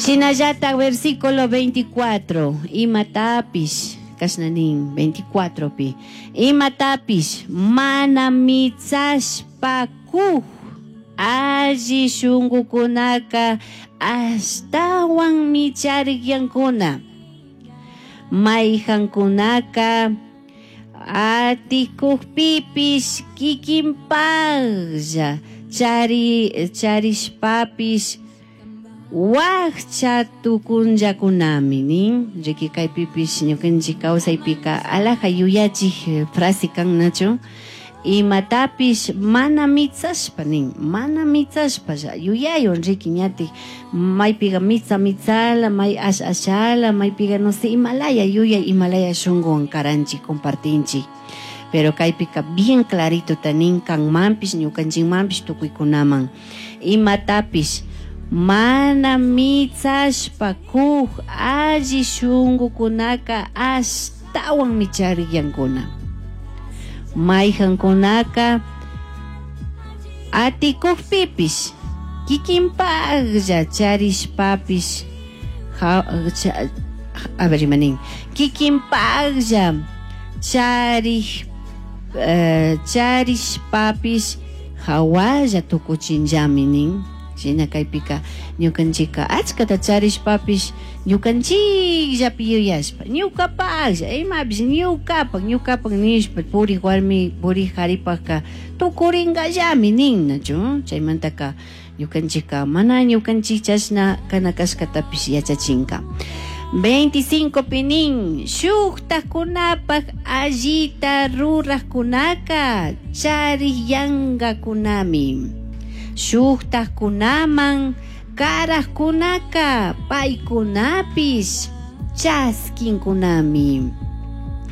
Shinallataj versículo 24, imatapish, kashna nin 24 pi, imatapish mana mitsashpa kuj alli shungukunaka ashtawan micharikyankuna. Mayhankunaka atikukpipish kikinpaklla charishpapish wakcha tukunllakunami nin. Riki kaypipish ñukanchik kawsaypika alaja yuyachik frase kan, nachu? Imatapish mana mitsashpa nin, mana mitsashpa yuyaywan riki ñatik maypiga mitsa mitsala, may ash ashala, maypiga no sé imalaya yuyay, imalaya shunguwan karanchik, compartinchik. Pero kaypika bien clarito ta nin kanmanpish, ñukanchikmanpish, tukuykunaman. Imatapish mana mitsashpa kuj alli shungukunaka ashtawan micharikyankuna. Mayhankunaka atikukpipish kikinpaklla charishpapish, a ver, imanin, kikinpaklla charishpapish hawalla tukuchinllami nin. Shina kaypika ñukanchikka achkata charishpapish ñukanchikllapi yuyashpa, ñukapaklla, imapish ñukapak, ñukapak nishpa purik warmi, purik karipakka tukuringallami nin, nachu? Chaymantaka ñukanchikka mana ñukanchik chashna kana kashkatapish yachachinka. 25 pi nin, shuktakunapak allita rurajkunaka charikyankakunami. Shuktakunaman karajkunaka paykunapish chaskinkunami.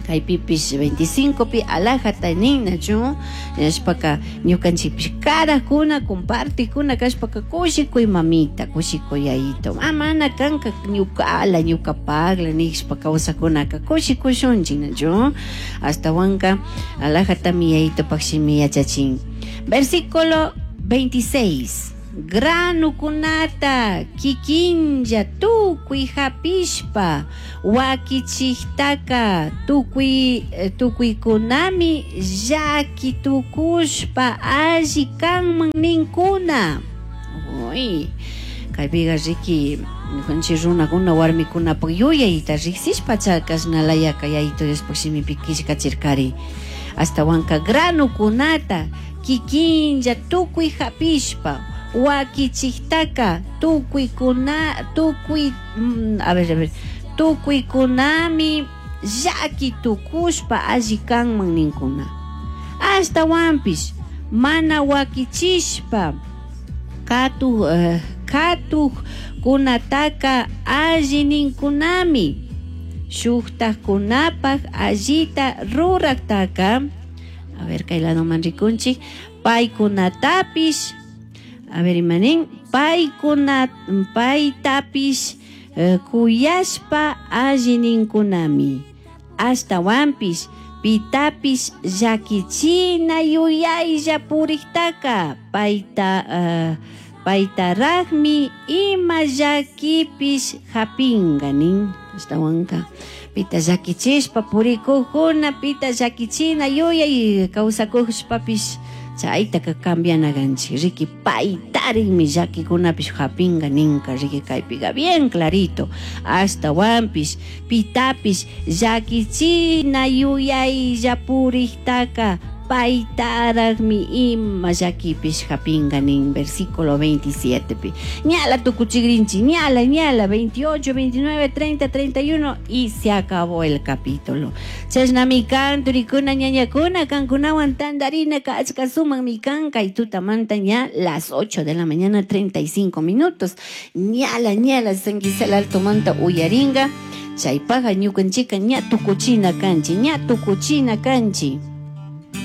Kaypipish 25 pi alajata nin, nachu? Nishpaka ñukanchikpish karakuna, compartikuna kashpaka kushikuy mamita, kushikuy yayito. Mana kanka ñukala, ñukapakla nishpa kawsakunaka kushikushunchik, nachu? Ashtawanka alajatami yayitopak shimi yachachin. Versículo 26. Granukunata kikinlla tukuy hapishpa wakichiktaka tukuykunami llaki tukushpa alli kanman ninkuna. Uy, kaypiqa riki ñukanchik runakuna warmikunapak yuyayta riksishpa chakashnalayaka yayito Diospuk shimipi killkachirkari. Ashtawanka granukunata kikinlla tukuy hapishpa wakichiktaka tukuykuna, tukuy, a ver, a ver, tukuykunami llaki tukushpa alli kanman ninkuna. Ashtawanpish mana wakichishpa katukkunataka alli ninkunami. Shuktakunapak allita ruraktaka, a ver, kay ladoman rikunchik, paykunatapish, a ver, imanin, paytapish kuyashpa alli ninkunami. Ashtawanpish pitapish llakichina yuyaylla puriktaka paytaraqmi ima llakipish hapinka nin. Ashtawanka pita llakichishpa purikukuna, pita llakichina yuyay kawsakushpapish chaytaka cambiana kanchik. Riki paytarikmi llakikunapish hapinka ninka. Riki kaypika bien clarito. Ashtawanpish pitapish llakichina yuyaylla puriktaka paytaraqmi ima llakipish hapinka nin. Versículo 27 pi. Ñala tukuchikrinchik, ñala, ñala, 28, 29, 30, 31 y se acabó el capítulo. Chashnami kan, turikuna, ñañakuna, kankunawan tandarina, kachka sumakmi kan, kay tutamanta ña las 8 de la mañana, 35 minutos. Ñala, ñala, San Gisela Alto manta uyaringa, chaypaja ñukanchika ña tukuchina kanchi, ña tukuchina kanchi.